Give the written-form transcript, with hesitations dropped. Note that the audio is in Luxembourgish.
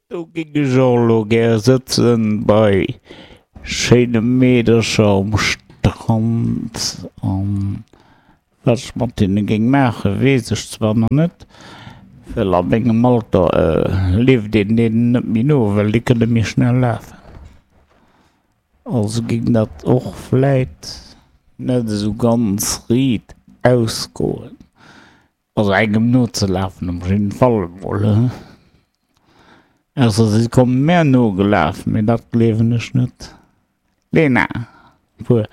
Do géing ech och elo gär sëtzen bei schéine Meedercher um Strand an wat ech mat hinne géing maachen, weess ech zwar nach net, well a mengem Alter leeft een deenen net méi no, well déi kënne méi schnell lafen. Also géing dat och vläit net esou ganz riit ausgoen. Also engem nozelafen op jidden Fall emol, ausser si kommen mär nogelaf, mee dat gleewen ech net. Lena, puer.